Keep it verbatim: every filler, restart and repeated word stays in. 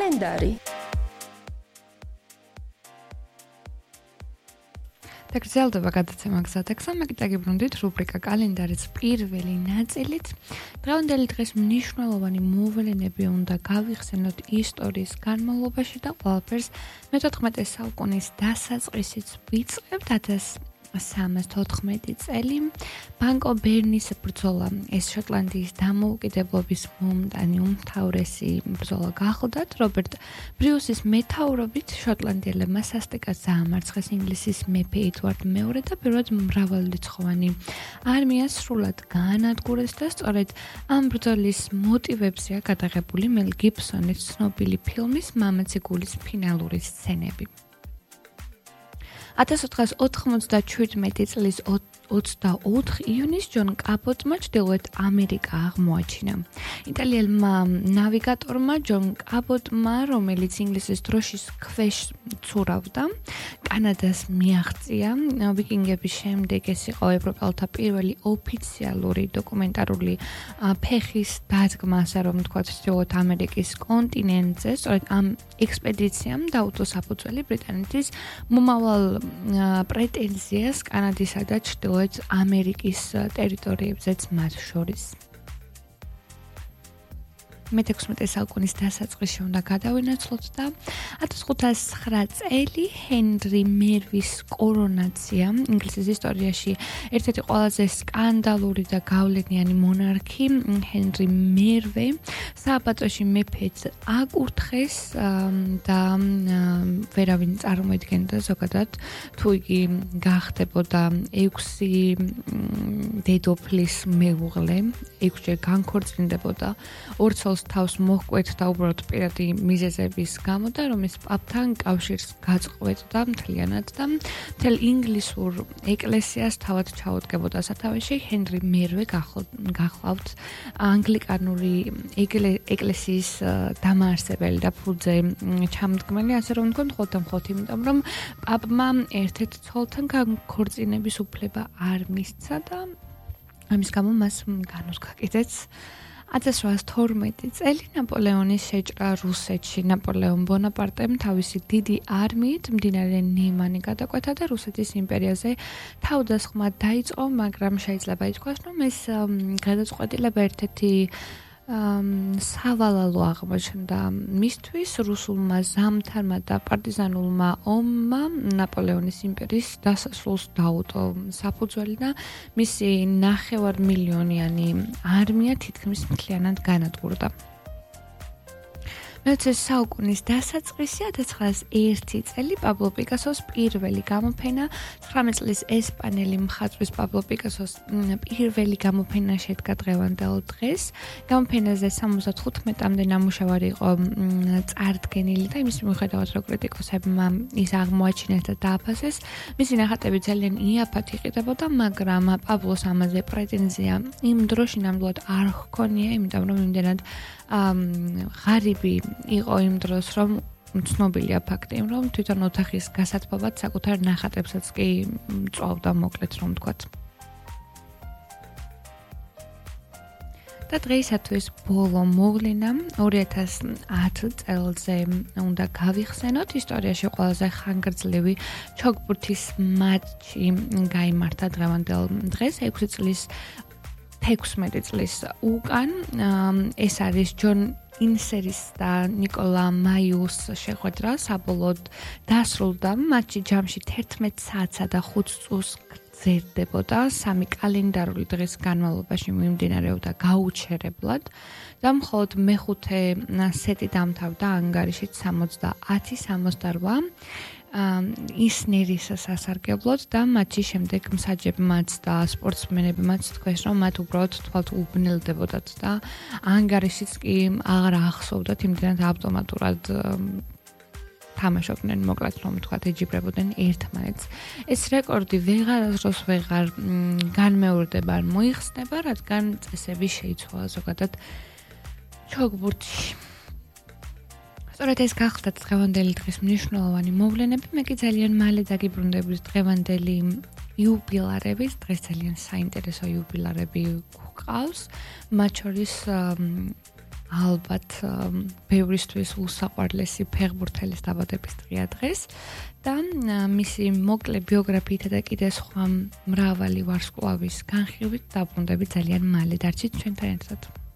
კალენდარი. გრძელდება გადაცემა გზატექსა, მე გიტაგიბრუნდით რუბრიკა კალენდარის პირველი ნაწილით. დღევანდელი დღის მნიშვნელოვანი მოვლენები უნდა გავიხსენოთ ისტორიის განმავლობაში და ყველაფერს მეთოთხმეტე საუკუნის დასაწყისით ვიწყებთ. ათას სამას თოთხმეტი წელი ბანკო ბერნის ბრძოლა, ეს შოტლანდიის დამოუკიდებლობის მომდანი უმთავრესი ბრძოლა გახლდათ. რობერტ ბრიუსის მეთაურობით შოტლანდიელებმა სასტიკად დაამარცხეს ინგლისის მეფე ედვარდ მეორე და პირველად მრავალრიცხოვანი არმია სრულად გაანადგურეს და სწორედ ამ ბრძოლის მოტივებზეა გადაღებული მელ გიბსონის ცნობილი ფილმის მამაცი გულის ფინალური სცენები. ათას ოთხას ოთხმოცდაჩვიდმეტი წლის ოცდაოთხი iyunis ჯონ კაპოტმა ჩრდილოეთ ამერიკა აღმოაჩინა. იტალიელმა ნავიგატორმა ჯონ კაპოტმა, რომელიც ინგლისის დროშის ქვეშ ცურავდა, კანადას მიაღწია. ვიკინგების შემდეგ ეს იყო ევროპელთა პირველი ოფიციალური დოკუმენტარული ფეხის დადგმა, ასე რომ ვთქვათ, ჩრდილოეთ ამერიკის კონტინენტზე. სწორედ ამ ექსპედიციამ დაუწყო საფუძველი ბრიტანეთის მომავალ პრეტენზიას კანადისა და ჩრდილოეთ ამერიკის ტერიტორიებზეც მათ შორის. მეთექვსმეტე საუკუნის დასაწყისში უნდა გადავინაცვლოთ და ათას ხუთას ცხრა წელი ჰენრი მერვის კორონაცია, ინგლისის ისტორიაში ერთ-ერთი ყველაზე სკანდალური და გავლენიანი მონარქი ჰენრი მერვე სააბატოში მეფედ აკურთხეს და ვერავინ წარმოედგენდა ზოგადად თუ იგი გახდებოდა ექვსი დედოფლის მეუღლე, ექვსჯერ განქორწინდებოდა, ორ ცოლს თავს მოჰკვეთ და უბრალოდ პირადი მიზეზების გამო და რომ ეს პაპთან კავშირს გაწყვეტდა მთლიანად და მთელ ინგლისურ ეკლესიას თავად ჩაუდგებოდა სათავეში. ჰენრი მერვე გახლავთ ანგლიკანური ეკლესიის დამაარსებელი და ფუძე ჩამდგმელი, ასე რომ ვთქვათ, ხოლმე მხოლოდ იმიტომ, რომ პაპმა ერთ-ერთ ცოლთან განქორწინების უფლება არ მისცა და ამის გამო მას განუდგა კიდეც. ათას რვაას თორმეტი წელი ნაპოლეონის შეჭრა რუსეთში. ნაპოლეონ ბონაპარტემ თავისი დიდი არმიით მდინარე ნემანი გადაკვეთა და რუსეთის იმპერიაზე თავდასხმა დაიწყო, მაგრამ შეიძლება ითქვას, რომ ეს გადაწყვეტილება ერთ-ერთი სავალალო აღმოჩნდა მისთვის. რუსულმა ზამთარმა და პარტიზანულმა ომმა ნაპოლეონის იმპერიის დასასრულს დაუტო საფუძველი და მისი ნახევარმილიონიანი არმია თითქმის მთლიანად განადგურდა. მეოცე საუკუნის დასაწყისი ათას ცხრაას ერთი წელი პაბლო პიკასოს პირველი გამოფენა. ცხრამეტ წლის ესპანელი მხატვრის პაბლო პიკასოს პირველი გამოფენა შედგა დღევანდელ დღეს. გამოფენაზე სამოცდათხუთმეტამდე ნამუშევარი იყო წარდგენილი და იმის მიუხედავად, რომ კრიტიკოსებმა ის აღმოაჩინეს და დააფასეს, მისი ნახატები ძალიან იაფად იყიდებოდა, მაგრამ პაბლოს ამაზე პრეტენზია იმ დროში ნამდვილად არ ჰქონია, იმიტომ რომ იმდენად ღარიბი იყო იმ დროს, რომ ცნობილია ფაქტი, რომ თვითონ ოთახის გასათბობად საკუთარ ნახატებსაც კი წვავდა, მოკლედ რომ ვთქვათ. და დღეისათვის ბოლო მოვლენა ორი ათას ათი წელზე უნდა გავიხსენოთ. ისტორიაში ყველაზე ხანგრძლივი ჩოგბურთის მატჩი გაიმართა დღევანდელ დღეს, ექვსი წლის თექვსმეტი წლის უკან. ეს არის ჯონ ინსერის და ნიკოლა მაიუს შეხვედრა. საბოლოოდ დასრულდა მატჩი ჯამში თერთმეტ საათსა და ხუთ წუთს გრძელდებოდა. სამი კალენდარული დღის განმავლობაში მიმდინარეობდა გაუჩერებლად და მხოლოდ მეხუთე სეტი დამთავრდა ანგარიშით სამოცდაათი სამოცდარვა ისნერის სასარგებლოდ და მატჩის შემდეგ მსაჯებმაც და სპორტსმენებმაც თქვეს, რომ მათ უბრალოდ თვალთ უბნელდებოდათ და ანგარიშიც კი აღარ ახსოვდათ, იმდენად ავტომატურად თამაშობდნენ, მოკლედ რომ ვთქვათ, ეჯიბრებოდნენ ერთმანეთს. ეს რეკორდი ვეღარასდროს ვეღარ განმეორდება, არ მოიხსნება, რადგან წესები შეიცვალა ზოგადად ჩოგბურთში. სწორედ ეს გახლდათ დღევანდელი დღის მნიშვნელოვანი მოვლენები. მე კი ძალიან მალე დაგიბრუნდებით დღევანდელი იუბილარების. დღეს ძალიან საინტერესო იუბილარები გვყავს. მათ შორის ალბათ ბევრისთვის უსაყვარლესი ფეხბურთელის დაბადების დღეა დღეს და მისი მოკლე ბიოგრაფიითა და კიდე სხვა მრავალი ვარსკვლავის განხილვით დაბრუნდები ძალიან მალე. დარჩით ჩვენთან ერთად.